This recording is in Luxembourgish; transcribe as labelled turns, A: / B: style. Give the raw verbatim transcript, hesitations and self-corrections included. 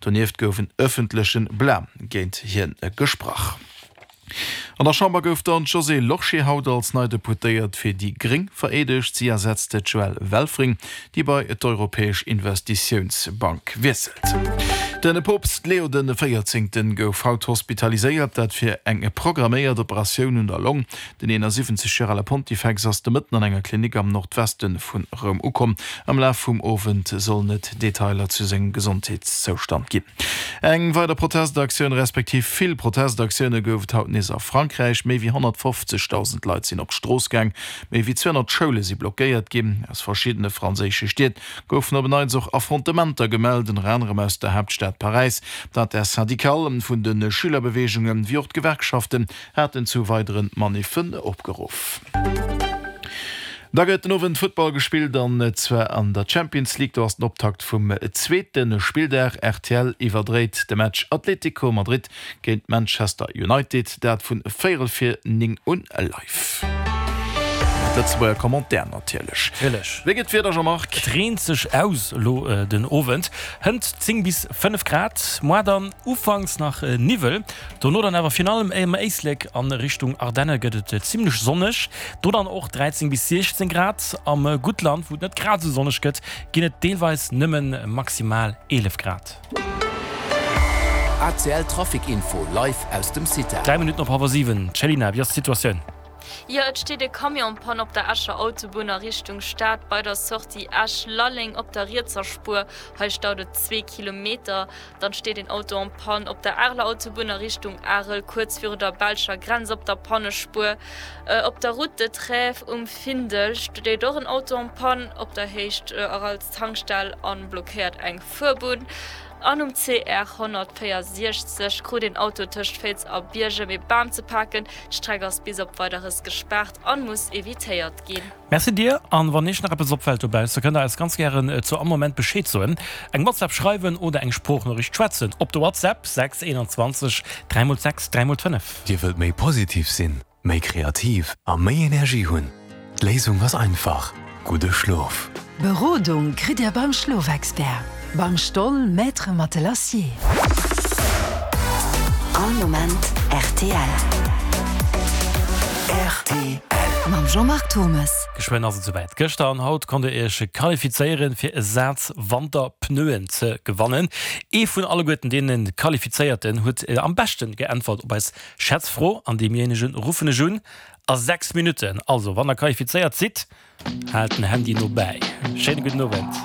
A: Donieft gouf en ëffentleche Blam géint hien gesprach. An der Chamber gouf dann d'Josée Lorsché haut als nei Deputéiert fir déi Gréng vereedegt. Si ersetzt d'Joëlle Welfring, déi bei d'Europäesch Investitiounsbank wiesselt. De Poopst Leo den Véierzéngten gouf haut hospitaliséiert, dat fir eng programméiert Operatioun un der Long. Den eenasiwwenzeg Joer ale Pontifex ass de Mëtten an enger Klinik am Nordweste vu Roum ukomm. Am Laf vum Owend sollen et Detailer zu sengem Gesondheetszoustand ginn. Eng weider Protestaktioun, respektiv vill Protestaktioune gouf et haut nees a Frankräich. Méi wéi honnertfofzegdausend Leit sinn op d'Strooss gaang, méi wéi zweehonnert Schoule si blockéiert ginn. Aus verschiddene franséische Stied goufen op en Neits och Affrontementer gemellt, ënner anerem aus der Haaptstad Paräis. D'Intersyndicale vun de Schülerbeweegungen, wéi och d'Gewerkschaften haten zu weidere Maniffen opgeruff. Da gëtt den Owend Futtball gespillt an zwar an der Champions League. Do ass den Optakt vum zweete Spilldag. Rtl iwwerdréit de Match Atlético Madrid géint Manchester United, dat vun véierel vir néng un live. Mat Lëtzebuerger Commentaire natierlech.
B: Natierlech.
A: Wéi gëtt d'Wieder, Jean-Marc?
B: Et reent sech aus elo den Owend, hënt zéng bis fënnef Grad, moar dann ufanks nach Niwwel, dono dann awer virun allem am Éislek an Richtung Ardenne gëtt et zimmlech sonneg, do dann och dräizéng bis siechzéng Grad. Am Guttland, wou et net grad esou sonneg gëtt, ginn et deelweis nëmmen maximal eelef Grad.
C: A C L Trafic Info live aus dem CITEL.
B: Dräi Minutten op hallwer siwen. Céline, wéi ass d'Situatioun?
D: Jo, et steet e Camion en panne op der Escher Autobunn a Richtung Stad bei der Sortie Esch-Lalleng op der rietser Spuer. Hei staut et zwee Kilometer. Dann steet een Auto en panne op der Areler Autobunn a Richtung Arel, kuerz viru der belscher Grenz op der Pannespuer. Op der Route de Trèves um Findel steet och en Auto en panne op der Héicht Aralz Tankstell an blockéiert eng Fuerbunn. An um C R honnertvéierundsechzeg krut een Auto tëscht Féiz a Biergem ee Bam ze paken. D'Streck ass bis op Weideres gespaart an muss evitéiert ginn.
B: Merci dir, an wann iech nach eppes opfällt dobausse, kënnt der eis ganz gären zu all Moment Bescheed soen, eng WhatsApp schreiwen oder eng Sproochnoriicht schwätzen op de WhatsApp sechs eenanzwanzeg dräi mol sechs dräi mol fënnef.
E: Dir wëllt méi positiv sinn, méi kreativ a méi Energie hunn? D'Léisung ass einfach, gudde Schlof!
F: Berodung kritt Dir beim Schlofexpert, beim Stoll Maître Matelassier.
G: All Moment rtl.
C: Rtl.
G: Mam Jean-Marc Turmes.
B: Geschwënn ass et souwäit. Gëschter an haut konnt Dir Iech qualifizéieren, fir e Saz Wanterpneuen ze gewannen. Ee vun alleguerten deene Qualifizéierten huet am beschten geäntwert op eis Schätzfro an deemjéinegen ruffen ech un a sechs Minutten. Also, wann der qualifizéiert sidd, haalt den Handy no bäi. Schéine gudden Owend.